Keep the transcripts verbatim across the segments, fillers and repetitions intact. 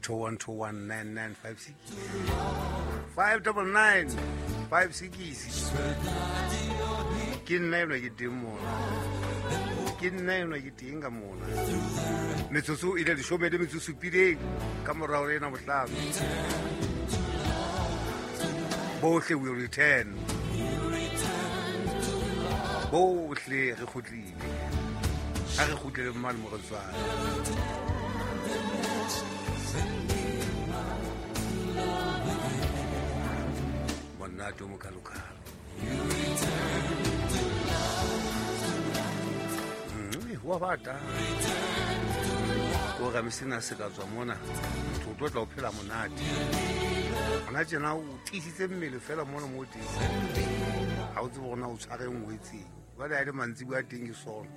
two one two one nine nine five six five double nine five six. Ke nna enwa ke teng mona, ke nna enwa ke teng ka mona. Metsotso e le leshome le metso supileng ka morao re ena bohlano. Bohle will return. Bohle re kgutlile. Ha re kgutlele mmane mo re tswang. Monate o mokalokalo. Wa bata ko ga mesena se ka tswa mona motho o tlo tla o phela monate ona tjena o tiisitse mmele fela mona mo teng ha o tsebe gore na o tshware nngwe etseng jwale ha e le mantsibuya a teng ke sona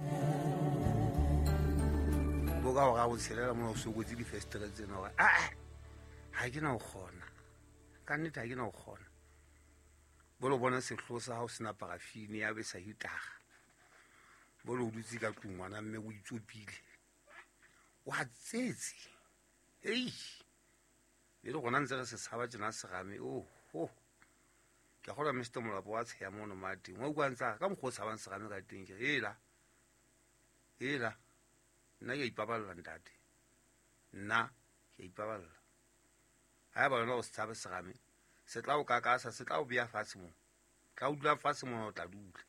bo ka hore a o tshelela mona o sokotse difestere tsena hore aa ha ke na ho kgona ka nnete ha ke na ho kgona bo lo bona sehloho sa hao sena parafine ya be sa hitara bo lo dutse ka tlung ngwana mme o itsopile wa tsetse ei le le gona ntse re se tshaba tjena serame oh ho ke a kgolwa Mister Molapo wa tsheya mono mateng wa utlwa ntsa ka mokgwa o tshabang serame ka teng ke re ela ela nna ke a ipaballa ntate nna ke a ipaballa ha eba wena o se tshabe serame se tla o kakasa se tla o beya fatshe moo tla o dula fatshe mona o tla dula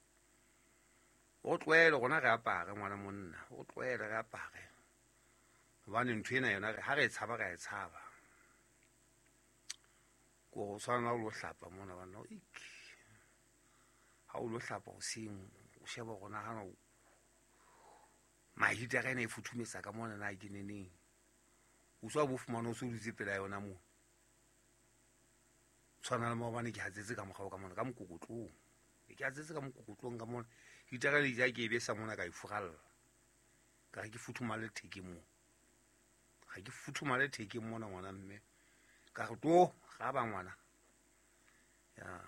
o tlohele rona re apare ngwana monna o tlohele re apare hobane ntho ena yona ha re e tshaba re a e tshaba ko go tshwana o lo hlapa mona bana ik ha o lo hlapa hoseng o sheba rona hana mahitara ena e futhumetsa ka mona na ke neneng o tswa bo fumana o se o dutse pela yona moo tshwana le maobane ke hatsetse ka mokgwa ka mona ka mokokotlong ke hatsetse ka mokokotlong ka mona hitara le ja ke e besa mona ka e furalla ka re ke futhumale thekeng moo ga ke futhumale thekeng mona ngwana mme ka re to ga ba ngwana ya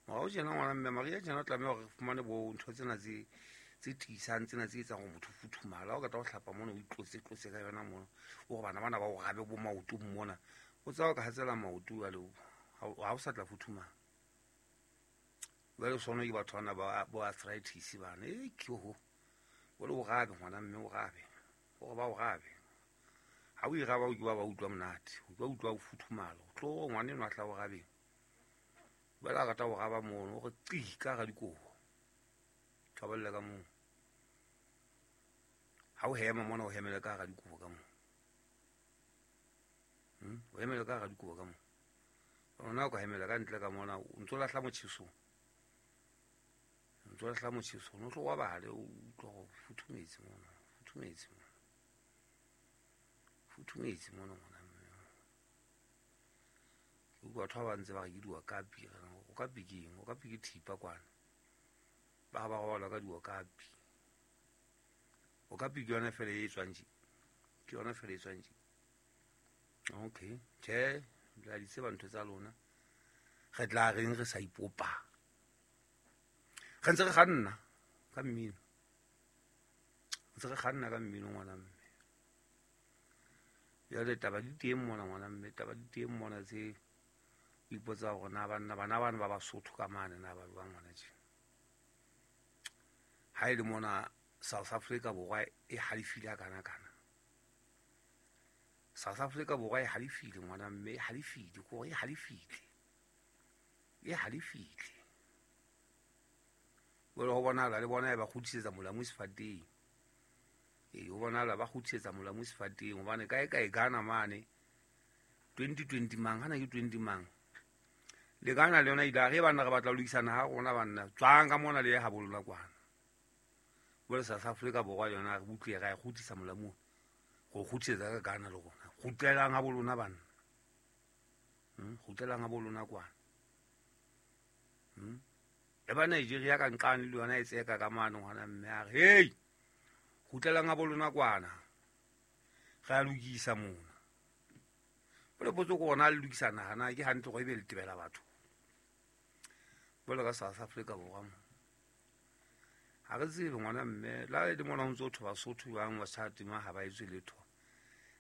morao tjena ngwana mme Maria tjena o tlameha hore re fumane bo ntho tsena tse tse tiisang tsena tse etsang hore motho futhumala ha o qeta ho hlapa mona o itlotse tlotse ka yona mona o re bana bana ba o rabe bo maoto mona o tsaya o ka hatsela maoto jwale ha o sa tla futhumala jwale sona ke batho bana ba bo arthritis bana e ke ho o le o rabe ngwana mme o rabe o re ba o rabe ha o iraba o ke ba ba utlwa monate o tlo utlwa o futhumala o tlo ngwana enwa tla o rabeng jwale a rata ho raba mono o re qi ka hara dikobo tjhabella ka moo ha o hema mona o hemele ka hara dikobo ka moo hmm o hemele ka hara dikobo ka moo rona o ka hemela ka ntle ka mona o ntso lahla motjheso o ntso lahla motjheso no tlo wa bale o utlwa go futhumetse mona futhumetse mona futhumetse mona ngwana mme ke utlwa batho ba ba ntse ba re ke diokapi o kapi ke eng o kapi ke thipa kwana ba ba robala ka diokapi o kapi ke yona fela e tswang tje ke yona fela e tswang tje okay tjhe la di tseba ntho tsa lona re tla reng re sa ipopa re ntse re kganna ka mmino ntse re kganna ka mmino ngwana mme jwale taba di teng mona ngwana mme taba di teng mona tse o ipotsa hore na banna bana bana ba Basotho ka mane na ba jwang ngwana tje ha e le mona South Africa borwa e halefile ha kana kana South Africa borwa e halefile ngwana mme e halefile ko e halefile e halefile jwale ho bonahala le bona e ba kgutlisetsa molamu sefateng e ho bonahala ba kgutlisetsa molamu sefateng hobane kae kae Ghana mane twenty twenty mang hana ke twenty mang le Ghana le yona ile re bana re batla ho lokisana ha rona banna tswang ka mona le ye habolola kwana jwale South Africa borwa yona re utlwe ra e kgutlisa molamu go kgutlisetsa ka Ghana le rona kgutlelang ha bolona banna hmm kgutlelang ha bolona kwana hmm e ba Nigeria ka nqane le yona e tseka ka mane ngwana mme a re hey kgutlelang ha bolona kwana re a lokisa mona bole potso ko rona le lokisa naha na ke hantle go ebe le tebela batho bole ka South Africa borwa mo ha re tsebe ngwana mme la le mona o ntse o thoba Sotho jwang wa sa tima ha ba etswe letho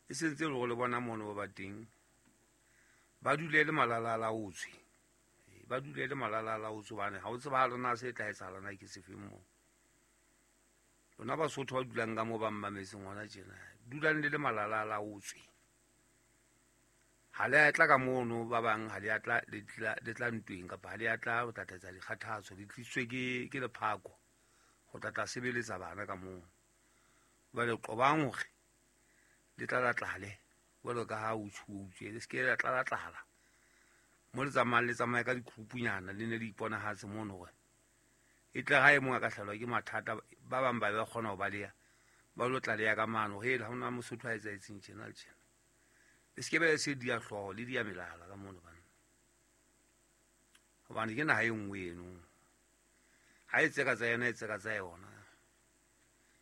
E sentse le gore le bona mono ba ba teng ba dule le malala a laotswe. Ba dule le malala a laotswe hobane ha o tseba lona se tla etsahala na ke sefeng moo. Lona Basotho ba dulang ka moo ba mmametseng hona tjena, dulang le le malala a laotswe. Ha le a tla ka mono ba bang ha le a tla le tla le tla ntweng kapa ha le a tla ho tla tlatsa dikgathatso, le tlisitswe ke ke lephako ho tla tla sebeletsa bana ka moo. Jwale qobang hore le tlala-tlale jwalo ka ha o tshutswe, le se ke la tlala-tlala. Mo le tsamayang le tsamaye ka dikhupunyana le ne le iponahatse mono hore e tle ha e mong a ka hlahelwa ke mathata, ba bang ba be ba kgona ho baleha, ba lo tlaleha ka mano hore ha hona Mosotho a etsahetseng tjena le tjena. Le se ke be se dia hlooho le dia melala ka mono bana. Hobane ke naha e nngwe eno. Ha e tseka tsa yona e tseka tsa yona.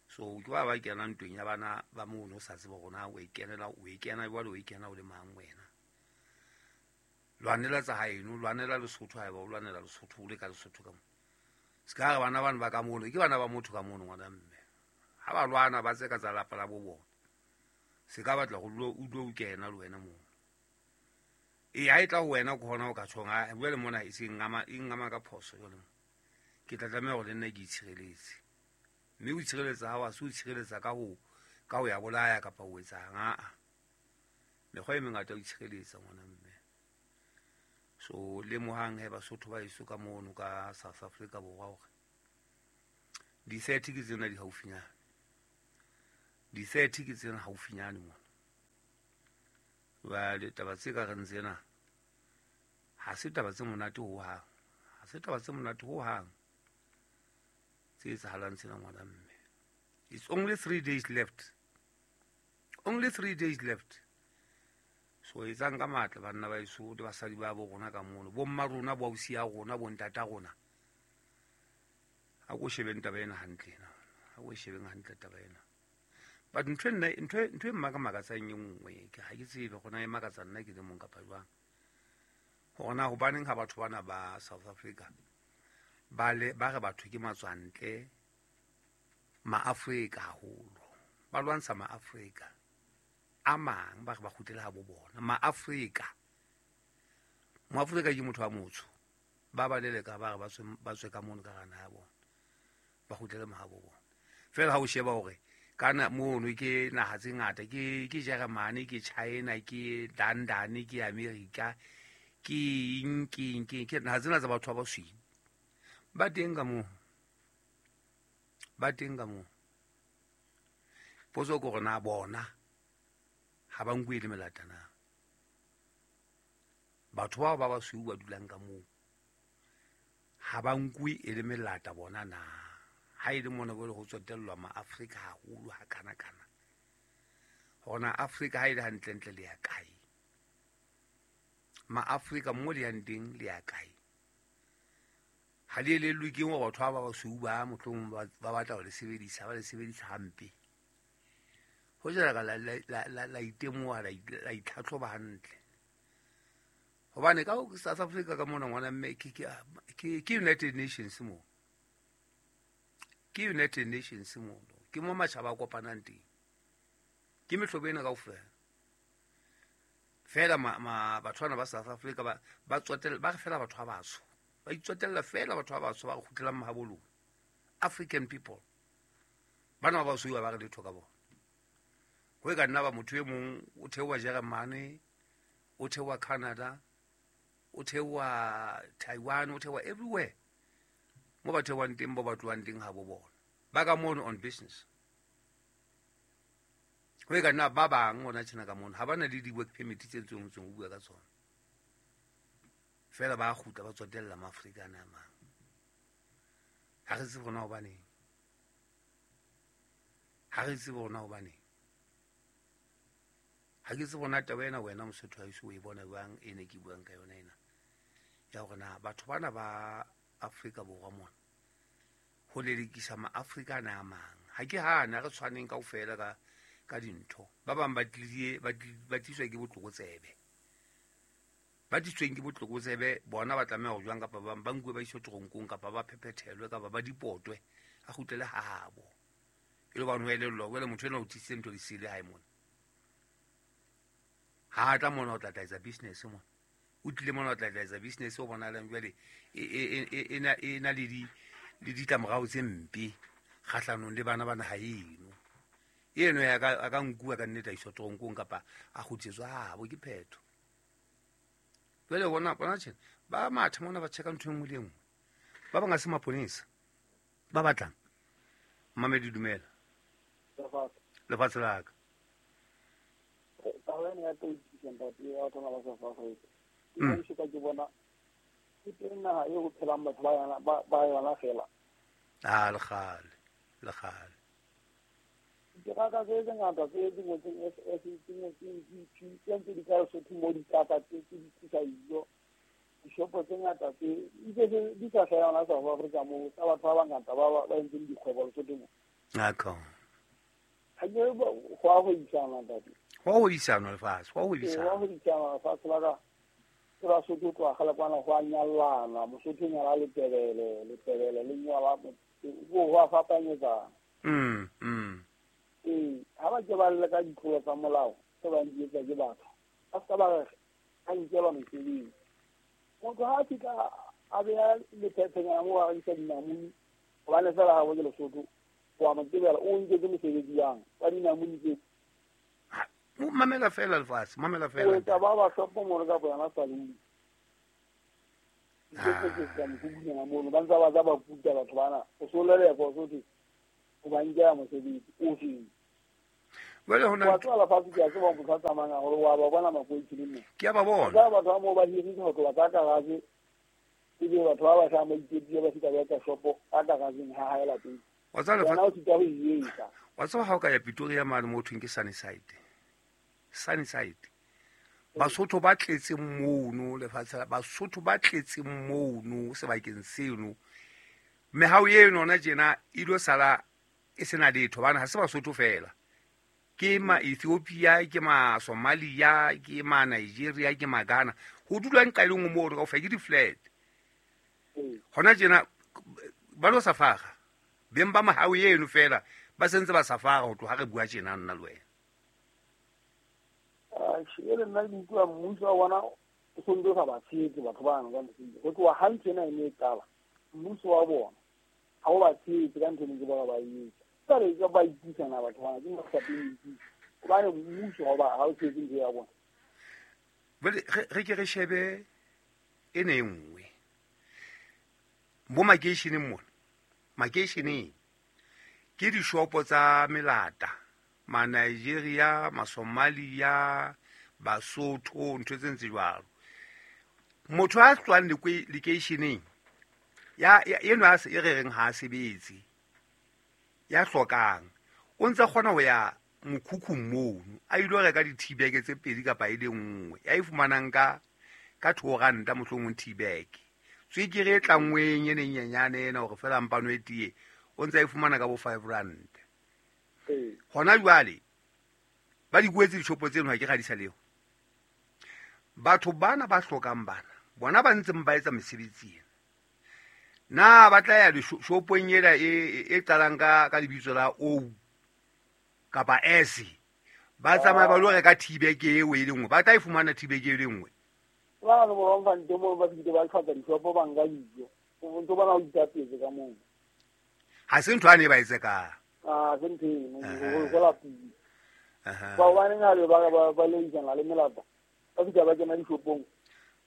So ke ba ba kena ntweng ya bana ba mono o sa tsebe hore na o e kenela o e kena jwale o e kena o le mang wena. Lwanela tsa haeno, lwanela Lesotho haeba o lwanela Lesotho o le ka Lesotho ka mo. Se ka re bana bana ba ka mono ke bana ba motho ka mono ngwana mme. Ha ba lwana ba tseka tsa lapa la bo bona. Se ka batla go dula o dula o kena le wena moo. E ha e tla ho wena ke hona o ka tjhong ha jwale mona e se ngama e ngama ka phoso jwale mo. Ke tla tlameha hore le nna ke itshireletse. Mme o itshireletsa ha wa se o itshireletsa ka ho ka ho ya bolaya kapa ho etsang a. Mekgwa e mengata o itshireletsa ngwana mme. So lemohang he Basotho ba eso ka mono ka South Africa borwa hore di-thirty ke tsena di haufinyane. Di-thirty ke tsena haufinyane mona. Jwale taba tse ka reng tsena ha se taba tse monate hohang. Ha se taba tse monate hohang tse etsahalang tsena ngwana mme. It's only three days left. Only three days left. So etsang ka matla banna ba eso le basadi ba bo rona ka mono. Bo mma rona, bo ausi ya rona, bo ntata rona. Ha ko shebeng taba ena hantle ena. Ha ko shebeng hantle taba ena. But ntho nna ntho ntho e mmakamakatsang e nngwe ke ha ke tsebe gona e makatsa nna ke le mong kapa jwang. Hore na hobaneng ha batho bana ba South Africa ba le ba re batho ke matswantle maAfrika haholo. Ba lwantsha maAfrika a mang ba re ba kgutlela ha bo bona. MaAfrika. MoAfrika ke motho wa motsho. Ba ba leleka ba re ba tswe ba tswe ka mono ka hara naha ya bona. Ba kgutlele mahabo bona. Feela ha o sheba hore kana mono ke naha tse ngata ke ke Germany, ke China, ke London, ke America, ke eng ke eng ke ke naha tsena tsa batho ba basweu. Ba teng ka moo. Ba teng ka moo. Potso ke hore na bona ha ba nkuwe le melata na. Batho bao ba basweu ba dulang ka moo ha ba nkuwe e le melata bona na. Ha e le mona bo le ho tsotellwa maAfrika haholo ha kana kana. Hore na Afrika ha e le hantlentle le ya kae. MaAfrika mo le yang teng le ya kae. Ha le elellwe ke hore batho ba ba basweu ba mohlomong ba ba batla ho le sebedisa, ba le sebedisa hampe. Ho jela ka la la la la itemoha la la itlhatlhoba hantle. Hobane ka South Africa ka mona ngwana mme ke ke ke ke United Nations mo. Ke United Nations mo. Ke mo matjhaba a kopanang teng. Ke mehlobo ena kaofela. Feela ma, ma batho bana ba South Africa ba ba tsotella ba re feela batho ba batsho. Ba itsotella feela batho ba batsho ba re kgutlelang mahabo lona. African people. Bana ba basweu ba re letho ka bona. Ho e ka nna ba motho e mong o theoha Germany, o theoha Canada, o theoha Taiwan, o theoha everywhere. Mo ba theohang teng, bo ba tlohang teng ha bo bona. Ba ka mono on business. Ho e ka nna ba bang hona tjena ka mono ha ba na le di-work permit tse ntseng ntseng ho bua ka tsona. Feela ba kgutla ba tsotella maAfrika ana a mang. Ha re tsebe hore na hobaneng. Ha re tsebe hore na hobaneng. Ha ke tsebe hore na taba ena wena Mosotho ha eso o e bona jwang e ne ke buang ka yona ena. Ya hore na batho bana ba Afrika Borwa mona ho lelekisa maAfrika ana a mang. Ha ke hane, ha re tshwaneng kaofela ka ka dintho. Ba bang ba tlile ba ba tliswa ke botlokotsebe. Ba tlisweng ke botlokotsebe bona ba tlameha ho jwang kapa ba ba nkuwe ba iswe toronkong kapa ba phephethelwe kapa ba dipotwe a kgutlele ha habo. E le hobane ho elellwa jwale motho enwa o tlisitse ntho di sele hae mona. Ha a tla mona o tla tla etsa business mona. O tlile mona o tla tla etsa business o bonalang jwale e e e e e na le di le ditlamorao tse mpe kgahlanong le bana ba naha eno. Eno ya ka a ka nkuwa ka nnete a iswa toronkong kapa a kgutletswa habo ke phetho. Jwale bona bona tjena ba matha mona ba checka ntho e nngwe le e nngwe. Ba bang a se maponesa. Ba batlang. Mamedi dumela. Lefatshe la ka. Taba ena ya politician ntate ya batho ba South Africa. Ke ka ke bona ke teng naha eo ho phelang batho ba yona ba yona fela. Ah le kgale, le kgale. Diteraka tse tse ngata tse di ngotsweng S S tse ngotsweng G P tse ntse di ka Lesotho mo dikaka tse tse di tlisa dijo. Dishopo tse ngata tse di di sa hlaha yona South Africa moo tsa batho ba bangata ba ba entseng dikgwebo Lesotho mo. Akho. Ha ke go a go isana ntate. Go a go isana lefatshe, go a go isana. Go a go isana lefatshe la ka. Ke ba Sotho tloha kgale kwana go a nyallana, Mosotho nyala Letebele, Letebele le nyala go go a fapanyetsana. Mm mm. Ee, ha ba ke ba lle ka ditlolo tsa molao tse bang di etsa ke batho. Ba ska ba re a nkelwa mesebetsi. Motho ha a fihla a beha lephephenyana moo a rekisa dinamune, hobane feela ha bo ke Lesotho, wa mo tsebela o nketse mosebetsi yang wa dinamune tseo. Mamela fela lefatshe, mamela fela. O etsa ba ba shopo mono kapa yona saloon. Ke ke ka mokhukhung mono ba ntse ba tsa ba kuta batho bana. O so lelekwa o so thwe o ba nkela mosebetsi o feng. Jwale hona wa tswa lefatshe ke a tseba motho a tsamayang haholo wa ba bona makoitsing mo. Ke a ba bona. Ba batho ba moo ba hirise ho tloha ka garage. Ebe batho ba ba hlahang ba iketsile ba fihla ba etsa shopo ka garageng ha hae lapeng. Wa tseba lefatshe. Wena o sita ho e etsa. Wa tseba ha o ka ya Pretoria mane mo thweng ke Sunnyside. Sunnyside. Basotho ba tletseng mono lefatshe la Basotho ba tletseng mono sebakeng seno. Mehao eno ona tjena e lo sala e sena letho bana ha se Basotho fela. Ke ma Ethiopia, ke ma Somalia, ke ma Nigeria, ke ma Ghana. Ho dula nqa e le nngwe moo kaofela ke di-flat. Hona tjena ba lo safara. Beng ba mahao eno fela ba sentse ba safara ho tloha re bua tjena nna le wena. E le nna ke utlwa mmuso wa bona o sontse o sa ba tshehetse batho bano ka ntho eo. Ho tloha ha ntho ena e ne e qala, mmuso wa bona ha o ba tshehetse ka ntho e neng ke bona ba e etsa. Jwale ke ba ipusana batho bana, ke mahlapeng ipuse. Hobane mmuso ha o ba ha o tshehetse ntho ya bona. Jwale re ke re shebe ena e nngwe. Bo makeisheneng mona, makeisheneng ke dishopo tsa melata, ma Nigeria, ma Somalia, Basotho, ntho tse ntse jwalo. Motho a tswang lekeisheneng ya eno a e re reng ha a sebetse, ya hlokang, o ntse kgona ho ya mokhukhung mono a ilo reka di-teabag tse pedi kapa e le nngwe ya e fumanang ka ka two ranta mohlomong teabag. Tswekere e tlanngweng e nyenyane ena hore fela mpano e tiye, o ntse a e fumana ka bo five rand. Hona jwale ba di kwetse dishopo tseno ha ke ga di sa leo. Batho bana ba hlokang bana bona ba ntseng ba etsa mesebetsi ena, na ba tla ya dishopong ena e e qalang ka ka lebitso la O kapa S, ba tsamaya ba lo reka teabag eo e le nngwe, ba tla e fumana teabag e le nngwe. Ba le bona ba ntse mo ba fitile ba tlhoka dishopo ba nka dijo. O ntse bona o itapetse ka moo. Ha se ntho a ne ba etse ka. Ah, se ntho eno, go go la pele. Ba hobane ngale ba ba ba le isana le melata. Ba fihla ba kena dishopong.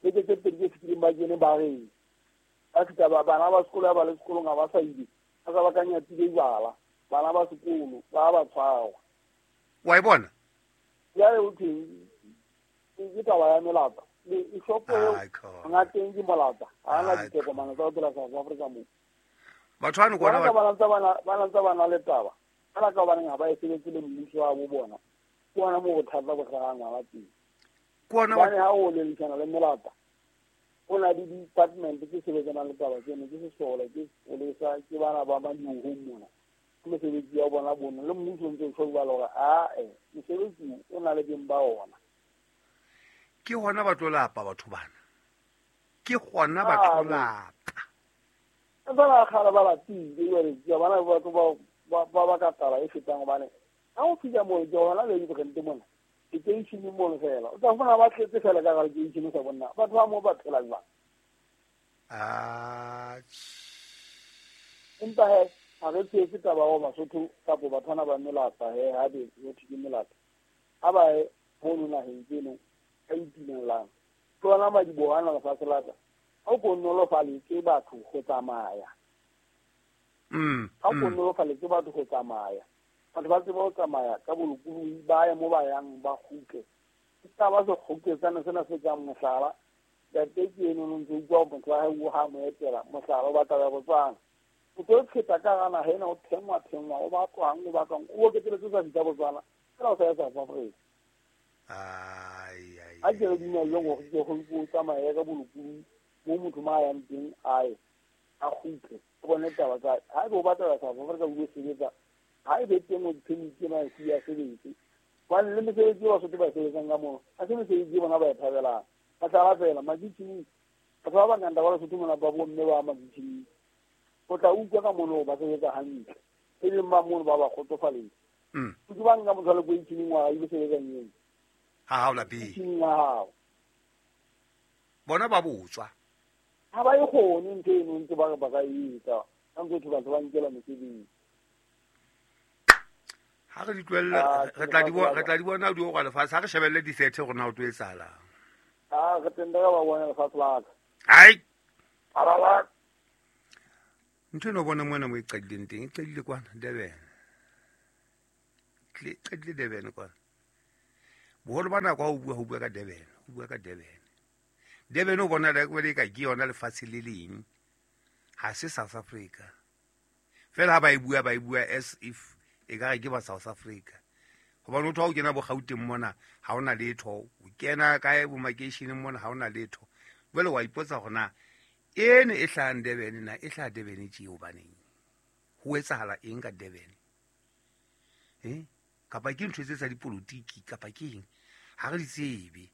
Beke tse pedi tse fetileng ba kene ba reng. Ba fihla ba bana ba sekolo ba le sekolong ha ba sa ile. Ba sa ba ka nyatile jwala. Bana ba sekolo ba ba tshwarwa. Wa e bona? Jwale o thweng ke taba ya melata. Le shopo eo ngateng ke molata. Ha na ditokomane tsa ho phela South Africa moo. Batho bano kona ba ba ntse ba ba ntse ba na le taba. Kana ka hobaneng ha ba e sebetse le mmuso wa bo bona. Ke ona moo bothata bo hlahang ngwana teng. Ke ona hobane ha o lelekana le melata, ho na le di-department tse sebetsanang le taba tseno, ke sesole, ke sepolesa, ke bana ba madiohong mona. Ke mesebetsi ya bona bono le mmuso o ntse o tjho jwalo hore ae mosebetsi o na le beng ba ona. Ke hona ba tlo lapa batho bana. Ke hona ba tlo lapa. Ba ba kgale ba lapile jwale ke bana batho ba ba ba ka taba e fetang hobane ha o fihla moo ke hona le dibrente mona. Ke Makeisheneng mono fela o tla fumana ba tletse fela ka gare keishene sa bonna batho ba mo ba phela jwang. Empa he ha re tsetse taba wa Basotho kapo bathwana ba melata he ha be ho thwe ke melata ha ba ye mono naheng tseno ka itumellang tlola madiboho ana lefatshe la ka ha o ko nolofaletse batho go tsamaya. Mm. Ha o ko nolofaletse batho go tsamaya batho ba tseba ho tsamaya ka bolokolohi ba ye mo ba yang ba kgutle. Ke taba se kgoketsana sena se kang mohlala ntate ke eno no ntse utlwa motho wa hae o ha mo etela mohlala o batla ya Botswana o tlo pheta ka gana ha ena o thengwa thengwa o batlwang o batlwang o oketeletse sa fihla Botswana fela o sa ya South Africa. Ai ai a ke re dumelleng hore ke go go tsamaya ka bolokolohi mo motho ma yang teng aye a kgutle o bone taba tsa ha ebe o batla South Africa o ile sebetsa ha ebe teng o permit ena e ya sebetse hobane le mesebetsi e Basotho ba e sebetsang ka mono ha se mesebetsi e bona ba e thabelang. Mohlala fela makitjhining batho ba bangata ba Lesotho mona ba bomme ba makitjhining o tla utlwa ka mono ba sebetsa hantle e leng ba mono ba ba kgotsofaletse. Mm. Ke ba nka motho a le ko itjhining wa ile sebetsang eng ha ha o lapeng kitjhining wa hao bona ba botswa ha ba e kgone ntho eno ntse ba re ba ka e etsa ka ntse batho batho ba nkela mesebetsi. Ha re di tlohelle re tla di bona re tla di bona di go lefatshe ha re shebelle di-theatre gore na o tlo etsahalang. Ah re teng ba bona lefatshe la ka. Ai araba ntho eno bona mona mo e qadileng teng e qadile kwana Durban. Tle qadile Durban kwana. Boholo ba nako ha o bua ho bua ka Durban, o bua ka Durban. Durban o bona le ka ke yona lefatshe le leng. Ha se South Africa. Fela ha ba e bua ba e bua as if e ka re ke ba South Africa. Hobane o tlo o kena bo Gauteng mona ha ona letho, o kena kae bo makeisheneng mona ha ona letho. Jwale wa ipotsa hore na ene e hlahang Durban na e hlaha Durban tje hobaneng? Ho etsahala eng ka Durban? Eh? Kapa ke ntho tse tsa dipolotiki kapa ke eng? Ha re di tsebe.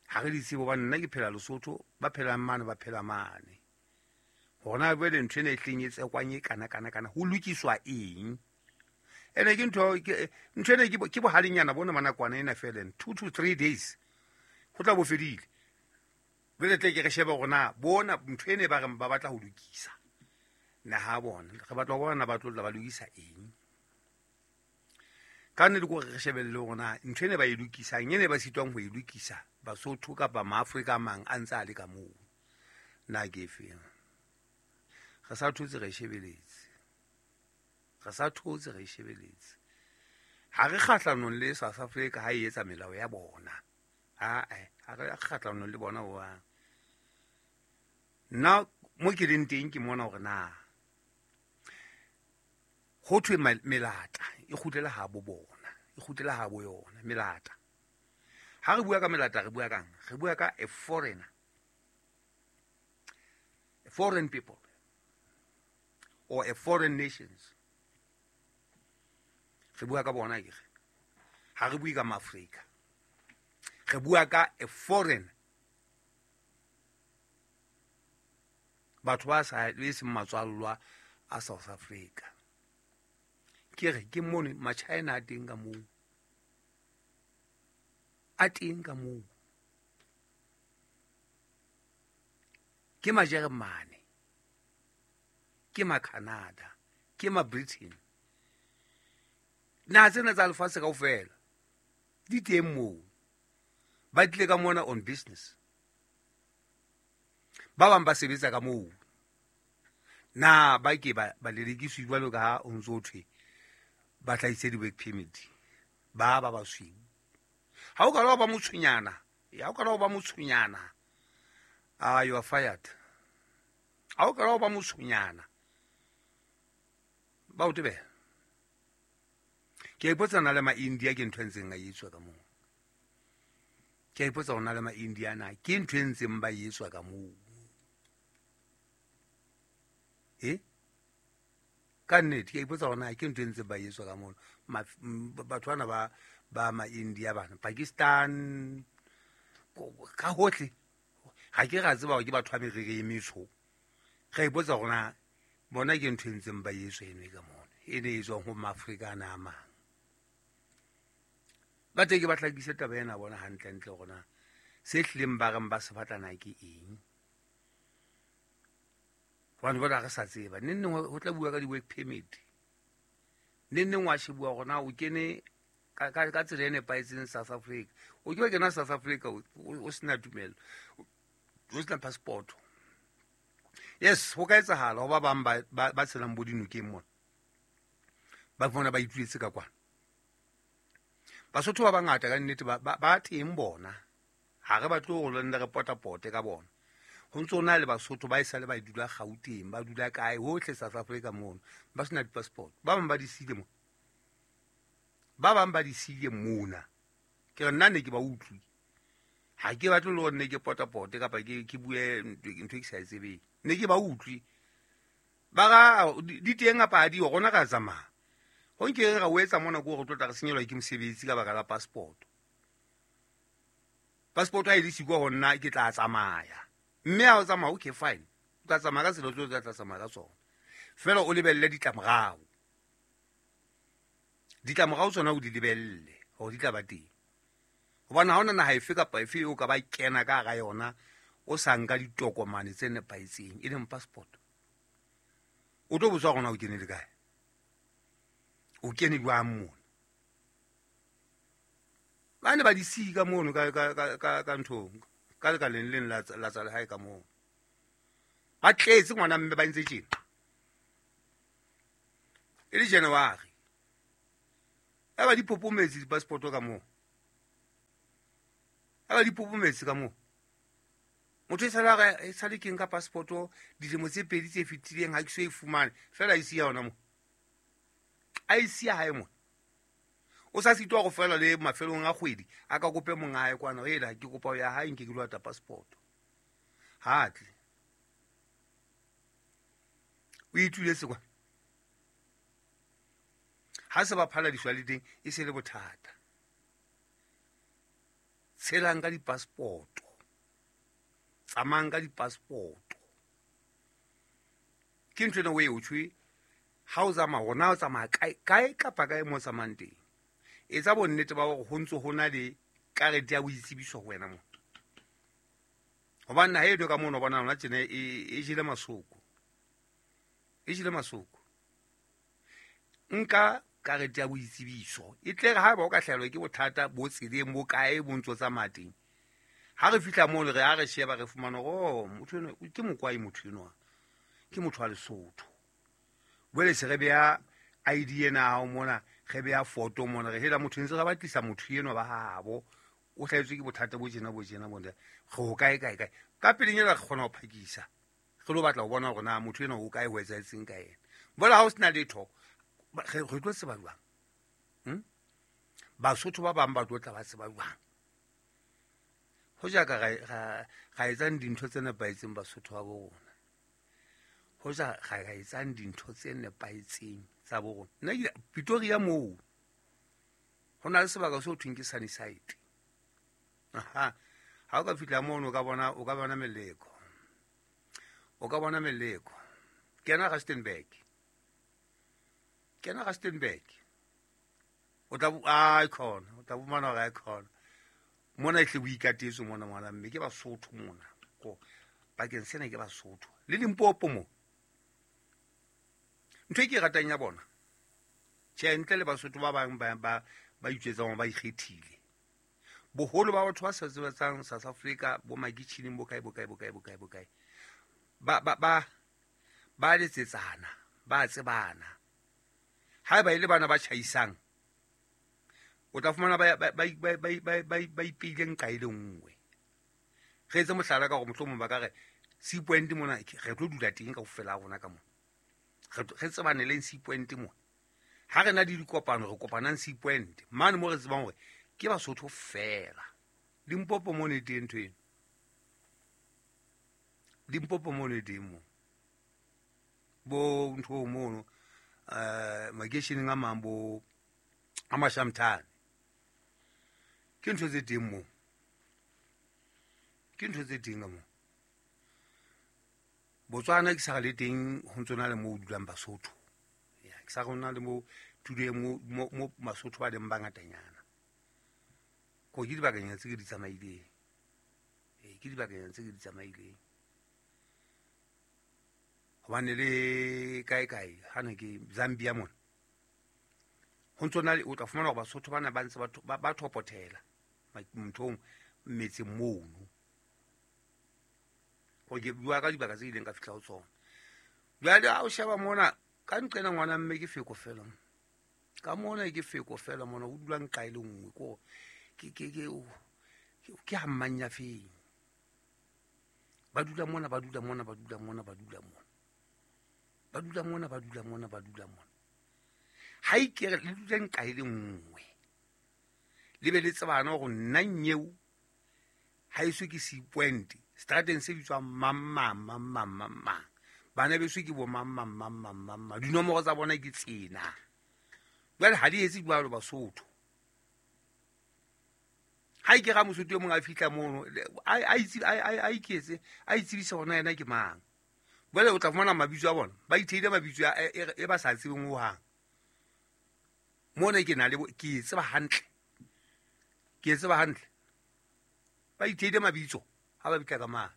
Ha re di tsebe hobane nna ke phela Lesotho, ba phelang mane ba phela mane. Hona jwale ntho ena e hleng e tsekwang e kana kana kana ho lokiswa eng? Ene ke ntho ke ntho ena ke ke bohalenyana bona manakwana ena fela two to three days ho tla bo fedile. Jwale tle ke re shebe hore na bona ntho ene ba reng ba batla ho lokisa na ha bona re batla ho bona ba tlo tla ba lokisa eng. Ka nnete ke hore re shebelle hore na ntho ene ba e lokisang ene ba sitwang ho e lokisa Basotho kapa Maafrika a mang a ntse a le ka moo na ke efeng. Re sa thotse re shebeletse. Re sa thotse re shebeletse. Ha re kgahlanong le South Africa ha e etsa melao ya bona. Ha eh ha re kgahlanong le bona ho hang. Nna mo ke leng teng ke mona hore na ho thwe melata e kgutlela ha bo bona, e kgutlela ha bo yona melata. Ha re bua ka melata re bua kang? Re bua ka a foreigner. A foreign people or a foreign nations. Re bua ka bona ke re. Ha re bue ka Maafrika. Re bua ka a foreign. Batho ba sa le seng matswallwa a South Africa. Ke re ke mone ma-China a teng ka moo. A teng ka moo. Ke ma-Jeremane. Ke ma-Canada, ke ma-Britain. Naha tsena tsa lefatshe kaofela di teng moo. Ba tlile ka mona on business. Ba bang ba sebetsa ka moo. Na ba ke ba ba lelekiswe jwalo ka ha o ntso thwe ba hlahise di-work permit. Ba ba basweu. Ha o ka la ba motshonyana, ya o ka la ba motshonyana. Ah, you are fired. Ha o ka la ba motshonyana. Ba o tebela. Ke a ipotsa na le ma-India ke ntho e ntseng a etswa ka moo. Ke a ipotsa hore na le ma-India na ke ntho e ntseng ba etswa ka moo. Eh? Ka nnete ke a ipotsa hore na ke ntho e ntseng ba etswa ka moo. Batho bana ba ba ma-India bana, Pakistan ka hohle. Ha ke ra tseba hore ke batho ba meriri e metsho. Re ipotsa hore na bona ke ntho e ntseng ba etswa eno e ka mona. E ne e tswang ho Maafrika ana a mang. Ba teng ke ba hlakise taba ena bona hantle-ntle hore na se hlileng ba reng ba se batlana ke eng. Hobane jwale ha re sa tseba. Neng neng ho tla bua ka di-work permit. Neng neng wa shebuwa hore na o kene ka, ka, ka tsela e nepahetseng South Africa. O ke wa kena South Africa o, o sena tumelo, o sena passport. Yes, ho ka etsahala ho ba bang ba, ba, ba tshelang bo dinokeng mona. Ba fumana ba ituletse ka kwana. Basotho ba bangata ka nnete ba, ba, ba teng bona. Ha re batle hore le re potapote ka bona. Ho ntso na le Basotho ba esale ba dula Gauteng, ba dula kae hohle South Africa mono, ba sena di-passport. Ba bang ba di siile mona. Ba bang ba di siile mona. Ke re nna ne ke ba utlwi. Ha ke batle le hore ne ke potapote kapa ke ke bue ntho e ke sa e tsebeng. Ne ke ba utlwi. Ba ra di teng kapa ha di yo, rona ra tsamaya. Ho nke re ra o etsa mona ke hore re tlo tla re senyelwa ke mosebetsi ka baka la passport. Passport ha e le siko ho nna ke tla tsamaya. Mme ha o tsamaya, okay fine. O tla tsamaya ka tsela tseo tla tsamaya ka tsona. Feela o lebelle ditlamorao. Ditlamorao tsona o di lebelle hore di tla ba teng. Hobane ha hona naha efe kapa efe eo ka ba kena ka hara yona o sa nka ditokomane tse nepahetseng e leng passport. O tlo botswa hore na o kene le kae. O kene jwang mona. Ba ne ba di sika mono ka ka ka ka, ka nthong. Ka lekaleng leng la la tsa lehae ka moo. Ba tletse ngwana mme ba ntse tjena. E le January. Ha ba di popometse di-passport ka moo. Ha ba di popometse ka moo. Motho e sale re e sale ke nka passport dilemo tse pedi tse fetileng ha ke so e fumane. Fela e siya hona moo. A e siya hae mo. O sa sitwa go fela le mafelong a kgwedi a ka kope monga hae kwana ela ke kopa ya hae nke ke lo ata passport. Ha tle. O ituletse kwa. Ha se ba phaladiswa le teng e se le bothata. Tshelang ka di-passport. Tsamayang ka di-passport. Ke ntho ena o e o tshwe ha o tsamaya hona o tsamaya kae kae kapa kae mo tsamayang teng. Etsa bonnete ba hore ho ntso ho na le karete ya boitsebiso ho wena mona. Hobane naha eno ka mono bona hona tjena e e jele masoko. E jele masoko. Nka karete ya boitsebiso. E tle re ha ba o ka hlahelwa ke bothata bo tseleng bo kae bo ntso tsamaya teng. Ha re fihla mono re ha re sheba re fumana hore oh motho eno ke mokwai motho enwa. Ke motho wa Lesotho. Jwale se re beha I D ena hao mona, re beha photo mona, re hela motho ntse re batlisa motho enwa ba habo. O hlahetswe ke bothata bo tjena bo tjena bo. Re ho kae kae kae. Ka pelenyana re kgona ho phakisa. Re lo batla ho bona hore na motho enwa o kae ho etsahetseng ka yena. Jwale ha o sena letho, re re tlo tseba jwang? Hm? Basotho ba bang ba tlo tla ba tseba jwang? Ho ja ka ra ra etsang dintho tse nepahetseng Basotho ba bo rona. Ho ja ra ra etsang dintho tse nepahetseng tsa bo rona. Nna ke Pretoria moo. Ho na le sebaka seo thweng ke Sunnyside. Aha. Ha o ka fihla mono o ka bona o ka bona meleko. O ka bona meleko. Kena Rustenburg. Kena Rustenburg. O tla ai khona, o tla fumana hore ai khona. Mona e hle boikatetse mona ngwana mme ke Basotho mona. Ko bakeng sena ke Basotho. Le Limpopo mo. Ntho e ke ratang ya bona. Tjhe ntle le Basotho ba bang ba ba ba itjetsang ba ikgethile. Boholo ba batho ba sa sebetsang South Africa bo makitjhineng bo kae bo kae bo kae bo kae bo kae. Ba ba ba ba letsetsana, ba tsebana. Haeba e le bana ba tjhaisang, o tla fumana ba ba ba ba ba ba ba ipeileng kae le nngwe. Re etse mohlala ka hore mohlomong ba ka re C point mona re tlo dula teng kaofela rona ka mona. Re re tsebane le C point mona. Ha re na le dikopano re kopanang C point. Mane mo re tsebang hore ke Basotho fela. Limpopo mona e teng ntho eno. Limpopo mona e teng mo. Bo ntho mono eh makeisheneng a mang bo a Mashamthane. Ke ntho tse teng mo. Ke ntho tse teng ka mo. Botswana ke sa le teng ho ntso na le mo dulang Basotho. Ya ke sa rona le mo tulo e mo mo Basotho ba leng bangatanyana. Ko ke dibakanyana tse ke di tsamaileng. Ee, ke dibakanyana tse ke di tsamaileng. Hobane le kae kae ha ne ke Zambia mona. Ho ntso na o tla fumana hore Basotho bana ba ntse ba ba thopothela nthong metseng mono. Ho ke bua ka dibaka tse ileng ka fihla ho tsona. Jwale ha o sheba mona ka nqena ngwana mme ke feko fela. Ka mona ke feko fela mona o dulang kae le nngwe ko ke ke ke ke ha mmanya feng. Ba dula mona ba dula mona ba dula mona ba dula mona. Ba dula mona ba dula mona ba dula mona. Ha ikere le dula kae le nngwe. Le be le tsebana hore nna nyeo ha eso ke si point strateng se bitswang mamma mamma mamma. Bana beso ke bo mamma mamma mamma. Dinomoro tsa bona ke tsena. Jwale ha di etse jwalo Basotho. Ha ke ra Mosotho e mong a fihla mono a itse a iketse a itsebisa hona yena ke mang. Jwale o tla fumana mabitso a bona ba itheile mabitso e ba sa tsebeng ho hang. Mona ke na le ke tseba hantle. Ke tseba hantle. Ba itheile mabitso ha ba bitla ka mane.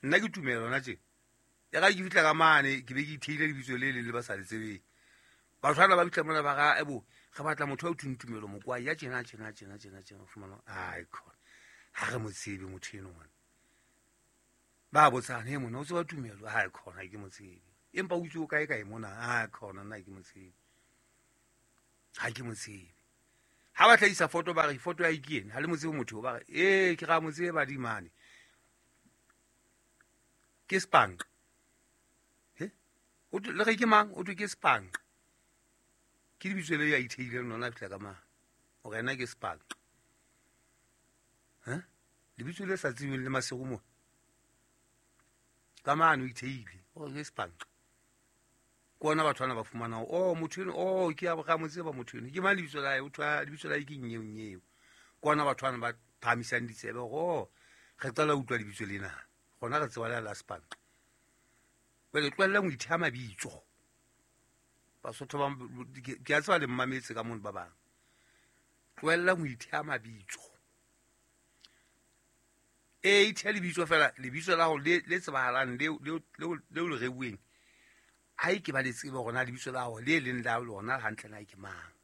Nna ke tumelo na tje. Ya ka ke fihla ka mane ke be ke itheile lebitso le le le ba sa le tsebeng. Batho bana ba bitla mona ba ga ebo re batla motho a thung tumelo mokwa ya tjena tjena tjena tjena tjena fumana ai khona ha re mo tsebe motho eno ngwana. Ba botsana he mona o tseba tumelo ai khona ke mo tsebe. Empa o itse o kae kae mona ai khona nna ke mo tsebe. Ha ke mo tsebe. Ha ba tlhaisa foto ba re foto ya ikene ha le mo tsebe motho ba re eh ke ra mo tsebe di mane. Ke spank. He? O le re ke mang o ke spank. Ke lebitso le ya itheileng lona fihla ka mang o rena ke spank. Ha? Lebitso le sa tsebeng le Masego mo. Ka mane o itheile o ke spank. Ke ona batho bana ba fumana oh motho eno oh ke a ga mo tseba motho eno ke mang lebitso la hae o thwa lebitso la hae ke nyeo nyeo. Ke ona batho bana ba phahamisang ditsebe hore re qala utlwa lebitso lena. Gona re tseba la la spank. Jwale tlohella ho itheha mabitso. Basotho ba ke a tseba le mmametse ka mono ba bang. Tlohella ho itheha mabitso. E itheha lebitso fela lebitso la hao le le tsebahalang le le le le reuweng. Ha ke ba le tsebe hore na lebitso la hao le leng la lona hantle na ke mang.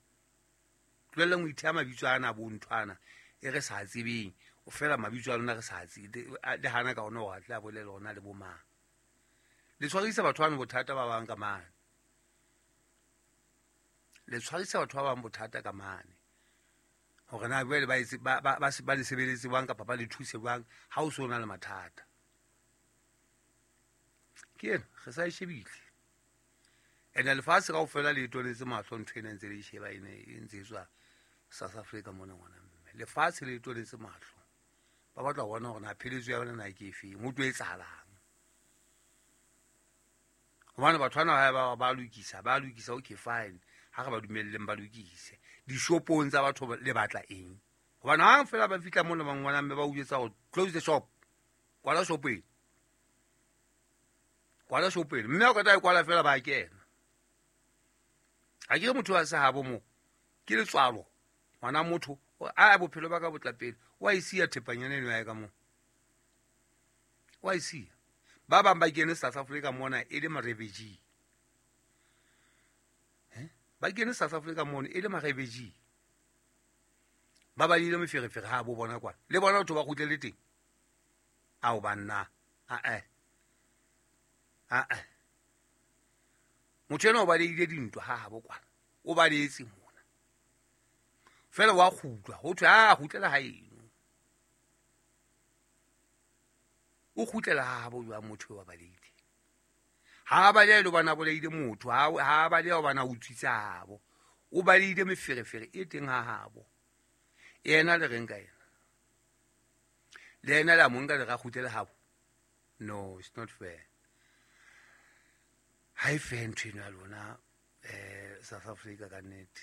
Tlohella ho itheha mabitso ana bo nthwana e re sa tsebeng. O fela mabitso a lona re sa tsebe le hana ka ona hore a tla bolela hona le bo mang. Le tshwarisa batho bana bothata ba bang ka mane. Le tshwarisa batho ba bang bothata ka mane. Hore na jwale ba etse ba ba ba le sebeletse bang kapa ba le thuse bang ha o so na le mathata. Ke ena re sa e shebile. Ene lefatshe kaofela le toletse mahlo ntho ena ntse le sheba ene e ntse tswa South Africa mona ngwana mme. Lefatshe le toletse mahlo. Ba batla ho bona hore na pheletso ya bona na ke efe, ho tlo etsahalang. Hobane batho bana ba ba lokisa, ba lokisa okay fine. Ha re ba dumelleng ba lokise. Dishopong tsa batho le batla eng? Hobane ha fela ba fihla mona ba ngwana mme ba o jwetsa hore close the shop. Kwala shop ena. Kwala shop ena. Mme o ka tla e kwala fela ba kena. Ha ke re motho wa sehabo mo. Ke letswalo. Ngwana motho a bophelo ba ka botla pele. Wa e siya thepanyana eno ya ka mo. Wa e siya. Ba bang ba kene South Africa mona e le ma-refugee. Eh? Ba kene South Africa mona e le ma-refugee. Ba balile meferefere ha bo bona kwana. Le bona batho ba kgutlele teng. Ao banna. A eh. A eh. Motho ena o baleile dintwa ha ha bo kwana. O baletse mona. Fela wa kgutlwa. Ho thwe a kgutlela ha eno. O kgutlela ha bo jwa motho wa baleile. Ha ba le bana bolaile motho ha ha ba le bana utswitsa habo. O baleile meferefere e teng ha habo. Yena le reng ka yena. Le yena la monka le ra kgutlela habo. No, it's not fair. Ha e fair ntho eno ya lona eh South Africa ka nnete.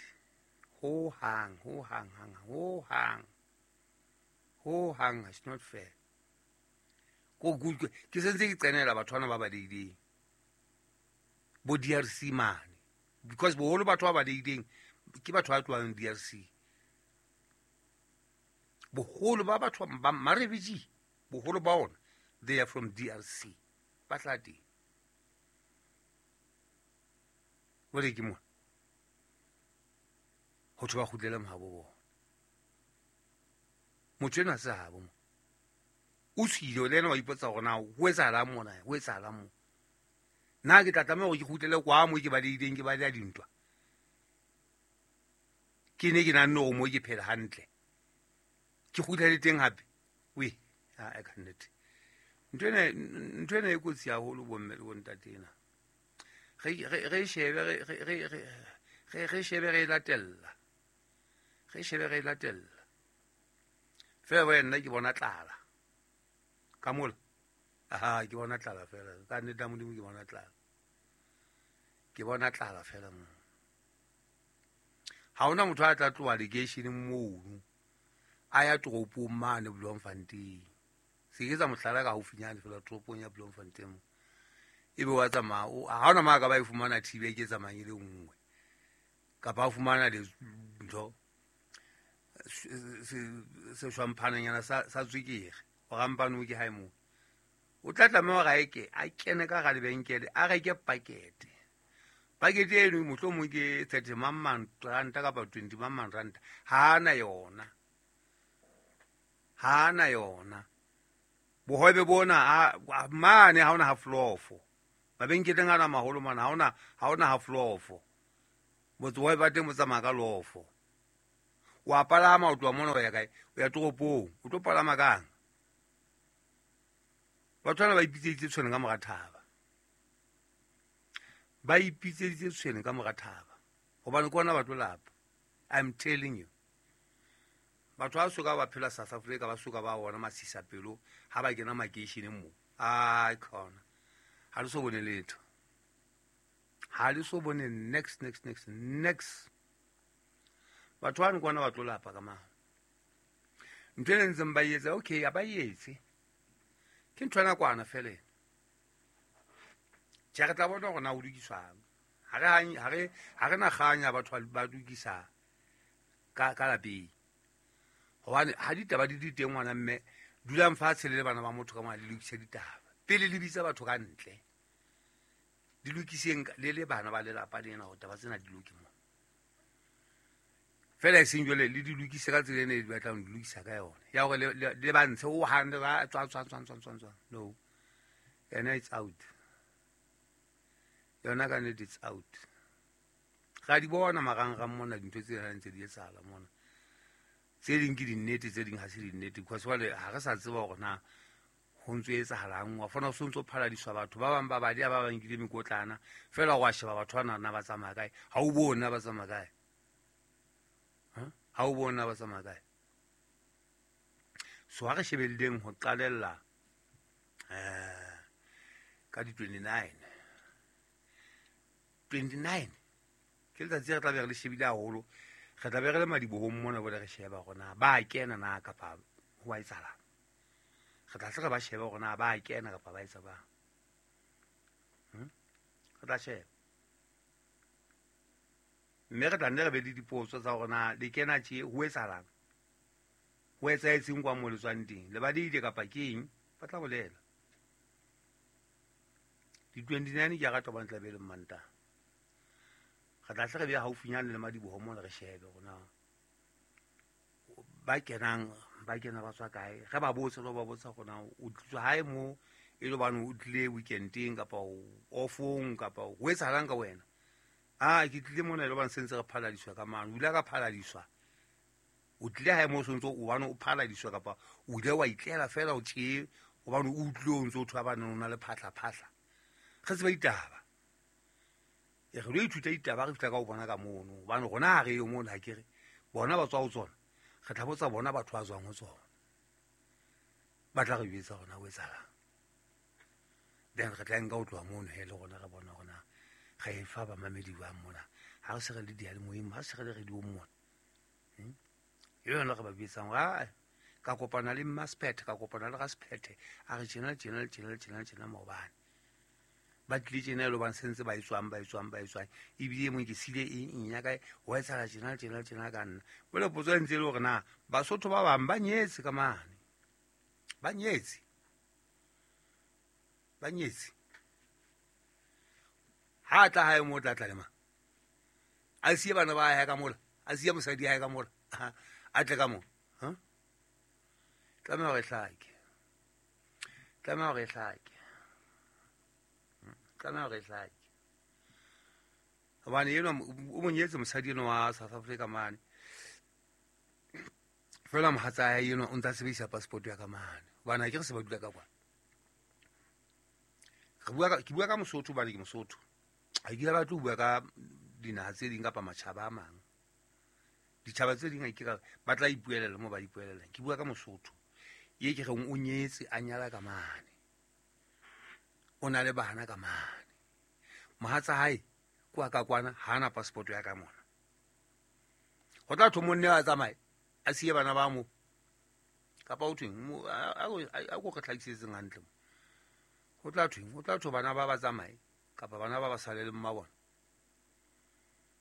Ho hang, ho hang hang, ho hang. Ho hang, it's not fair. Ko ke sentse ke qenela batho bana ba baleileng. Bo D R C mane. Because boholo batho ba baleileng ke batho ba tlohang D R C. Boholo ba batho ba ma-refugee, boholo ba ona, they are from D R C. Ba tla teng. Jwale ke mona. Ho thwe ba kgutlele mahabo bona. Motho enwa se habo mo. O tswile le yena wa ipotsa hore na ho etsahalang mona, ho etsahalang mo. Nna ke tla tlameha hore ke kgutlele kwa mo ke balehileng, ke baleha dintwa. Ke ne ke nahanne hore mo ke phela hantle. Ke kgutlele teng hape. Wee, ha e ka nnete. Ntho ena, ntho ena e kotsi haholo bomme le bontate ena. Re re re shebe re re re re re shebe re latella. Re shebe re latella. Fela bo nna ke bona tlala. Ka mola. Aha, ke bona tlala fela. Ka nnete Modimo ke bona tlala. Ke bona tlala fela mo. Ha hona motho a tla tloha lekeisheneng mono. A ya toropong mane Bloemfontein. Se ke tsa mohlala ka haufinyane fela toropong ya Bloemfontein. Ebe wa tsamaya, ha hona ma ka ba e fumana thibe ke tsamayang e le nngwe. Kapa a fumana le ntho se shwamphananyana sa sa tswekere. O rampane ke hae moo. O tla tlameha hore a ke a kene ka hara lebenkele a reke pakete. Pakete eno mohlomong ke thirty mang ranta kapa twenty mang ranta. Ha ana yona. Ha ana yona. Bohobe bona mane ha ona half loaf. Mabenkeleng ana maholo mana ha ona ha ona half loaf. Botsoe ba teng bo tsamaya ka loaf. Wa palama o tloha mona o ya kae? O ya toropong. O tlo palama kang? Batho bana ba ipitseditse tshwene ka mora thaba. Ba ipitseditse tshwene ka mora thaba. Hobane ke ona ba tlo lapa. I'm telling you. Batho ba soka ba phela South Africa ba soka ba bona masisapelo ha ba kena makeisheneng mo. Ai khona. Ha le so bone letho. Ha le so bone next next next next. Batho bana ke ona ba tlo lapa ka mang. Ntho e ntseng ba etsa okay, a ba etse. Ke ntho ena kwana fela. Tjhe re tla bona hore na o lokiswang. Ha re ha re ha re na kganya batho ba lokisa ka ka lapeng. Hobane ha ditaba di di teng ngwana mme dulang fatshe le bana ba motho ka mona le lokise ditaba. Pele le bitsa batho ka ntle. Di lokiseng le le bana ba lelapa lena hore taba tsena di loke mo. Fela e seng jwale le di lokise ka tsela ene di batlang di lokisa ka yona. Ya hore le le ba ntshe o hande ba tswa tswa tswa tswa tswa tswa. No. Yona it's out. Yona ka nnete it's out. Ra di bona marangrang mona dintho tse ntse di etsahala mona. Tse ding ke dinnete, tse ding ha se dinnete. Because jwale ha re sa tseba hore na ho ntso etsahalang. Wa fona ho ntso phaladiswa batho ba bang ba badi ba bang nkile mekotlana. Fela wa sheba batho bana na ba tsamaya kae. Ha o bone ba tsamaya kae. Ha o bona ba tsamaya kae. So ha re shebelleng ho qalella eh ka di twenty-nine. twenty-nine ke letsatsi re tla be re le shebile haholo. Re tla be re le madibohong mona bole re sheba hore na ba kena na kapa ho a etsahalang. Re tla hle re ba shebe hore na ba kena kapa ba etsa bang. Hm? Re tla sheba. Mme re tla nne re be le dipotso tsa hore na le kena tje ho etsahalang. Ho etsahetseng kwa mo le tswang teng. Le badile kapa ke eng? Ba tla bolela. Di twenty-nine ke a rata hobane tla be le Mmantaha. Re tla hle re be haufinyane le madiboho mona re shebe hore na ba kenang ba kena ba tswa kae. Re ba botse le ba botsa hore na o tliswa hae mo e le hobane o tlile weekendeng kapa offong kapa ho etsahalang ka wena. Ah, ke tlile mona e le hobane se ntse re phaladiswa ka mane. O ile ka phaladiswa. O tlile hae mo o ntso o bane o phaladiswa kapa o ile wa itlela fela o tje hobane o utlwile o ntso o thwa bana o na le phahla phahla. Re tseba ditaba. E re lo ithuta ditaba re fihla ka ho bona ka mono. Hobane rona ha re yo mono ha ke re bona ba tswa ho tsona. Re tla botsa bona batho ba tswang ho tsona. Ba tla re jwetsa hore na ho etsahalang. Then re tla nka ho tloha mono he le rona re bona hore na re e fa bamamedi ba mona. Ha re se re le diyalemoyeng, ha se re le radiong mona. Hmm? E yona re ba bitsang hore ah, ka kopana le Mmasephethe, ka kopana le Rasephethe, a re tjena tjena tjena tjena tjena maobane. Ba tlile tjena e le hobane sentse ba e tswang ba e tswang ba e tswang ebile e mong ke sile eng eng ya kae wa etsahala tjena tjena tjena ka nna. Jwale potso e ntse e le hore na Basotho ba bang ba nyetse ka mane, ba nyetse ba nyetse. Ha tla hae mo tla tla le mang, a siye bana ba hae ka mola, a siye mosadi hae ka mola, a tle ka mo ha tlameha hore hlake, tlameha hore hlake, tlameha hore hlake. Hobane enwa o monyetse mosadi enwa wa South Africa mane, fela mohatsa hae enwa o ntsa sebedisa passport ya ka mane, hobane ha ke re se ba dula ka kwana. Re bua ka, ke bua ka Mosotho hobane ke Mosotho, ha ke batle ho bua ka dinaha tse ding kapa matjhaba a mang. Ditjhaba tse ding ha ke ba tla ipuelela mo ba ipuelelang. Ke bua ka Mosotho ye ke reng o nyetse a nyala ka mane, o na le bana ka mane, mohatsa hae kwa ka kwana ha ana passport ya ka mona. Ho tla thwe monne a tsamaye a siye bana ba mo, kapa ho thweng a ko re tlhakisetseng hantle mo. Ho tla thweng, ho tla thwe bana ba ba tsamaye kapa bana ba ba sale le mma bona.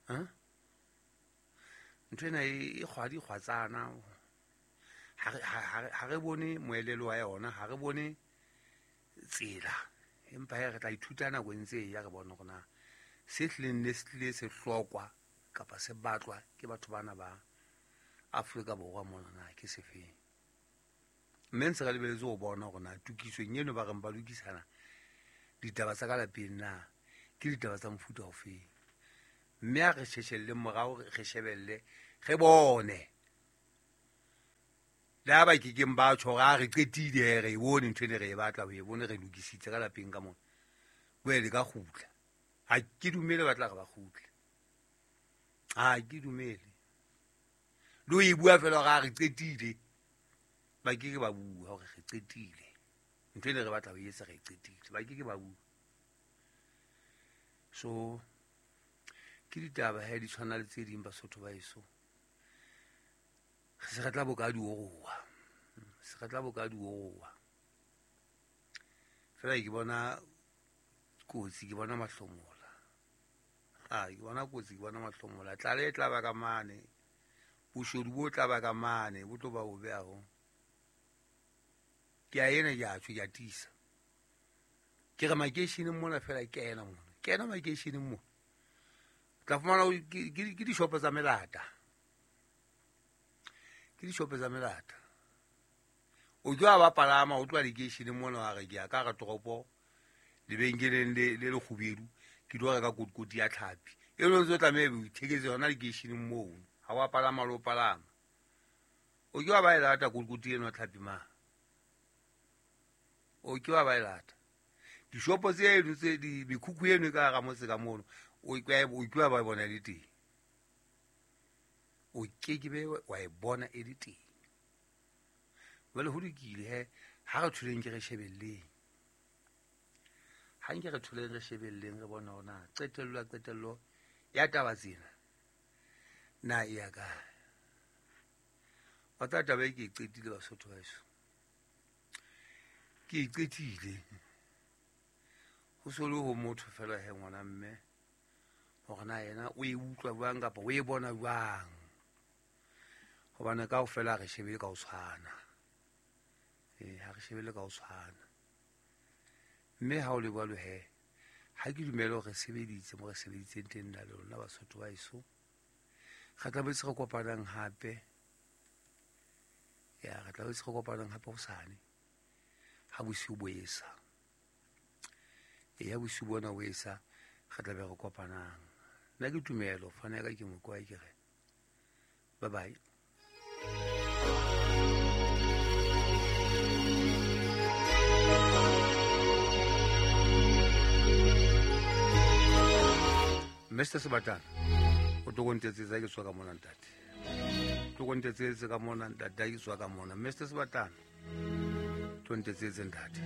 Ha ntho ena e kgwadi kgwatsana, ha re bone moelelo wa yona, ha re bone tsela, empa he re tla ithuta nako e ntse e ya, re bone hore na se hlileng ne se tlile se hlokwa kapa se batlwa ke batho bana ba Afrika Borwa mona na ke sefeng. Mme ntse re lebeletse ho bona hore na tokisong eno ba reng ba lokisana ditaba tsa ka lapeng na ke ditaba tsa mofuta ofeng. Mme a re sheshelle morao, re shebelle, re bone. Le ha ba kekeng ba tjho hore a re qetile, re e bone ntho ene re e batla ho e bone, re lokisitse ka lapeng ka mona, boele ka kgutla. Ha ke dumele ba tla re ba kgutle, ha ke dumele. Le ho e bua fela hore a re qetile, ba keke ba bua hore re qetile ntho ene re batla ho e etsa, re e qetile, ba keke ba bua. So ke ditaba he di tshwana le tse ding Basotho ba eso. Re se re tla boka di oroha, se re tla boka di oroha fela. Ke bona kotsi, ke bona mahlomola, ah ke bona kotsi, ke bona mahlomola. Tlala e tla ba ka mane, boshodu bo tla ba ka mane, bo tlo ba bobe haholo. Ke a ena ke a tjho, ke a tiisa, ke re makeisheneng mona fela, ke ena mona, ke ena makeisheneng mona tla fumana ke dishopo tsa melata, ke dishopo tsa melata. O tlo ba palama, o tloha lekeisheneng mona wa re ke ya ka hara toropo lebenkeleng le le lekgubedu, ke tlo reka kotikoti ya tlhapi. E le ntse o tlameha o itheketse yona lekeisheneng moo, ha wa palama le o palama. O ke wa ba e lata kotikoti eno ya tlhapi ma, o ke wa ba e lata. Dishopo tseno tse di mekhukhu eno e ka hara motse ka mono, o ke wa ba bona le teng, o keke be wa e bona e le teng. Jwale ho lokile he, ha re thuleng ke re shebelleng, ha nke re thuleng re shebelleng, re bone hore na qetello ya qetello ya taba tsena na e ya kae. Wa tseba taba e ke e qetile Basotho ba heso, ke e qetile. Ho so le ho motho fela he ngwana mme, hore na yena o e utlwa jwang kapa o e bona jwang, hobane kaofela ha re shebele ka ho tshwana. Ee, ha re shebele ka ho tshwana. Mme ha o le jwalo he, ha ke dumele hore re sebeditse mo re sebeditseng teng nna le lona Basotho ba heso. Re tla boetse re kopanang hape, ya re tla boetse re kopanang hape hosane ha bosiu bo esa. E ya bosiu bona bo esa, re tla be re kopanang. Nna ke Tumelo, fana ya ka ke Mokoa, ke re bye bye. Mister Sebatana, o tlo kontetsetsa ke tswa ka mona ntate, tlo kontetsetsa ka mona ntate, ke tswa ka mona. Mister Sebatana, tlo ntetsetse ntate.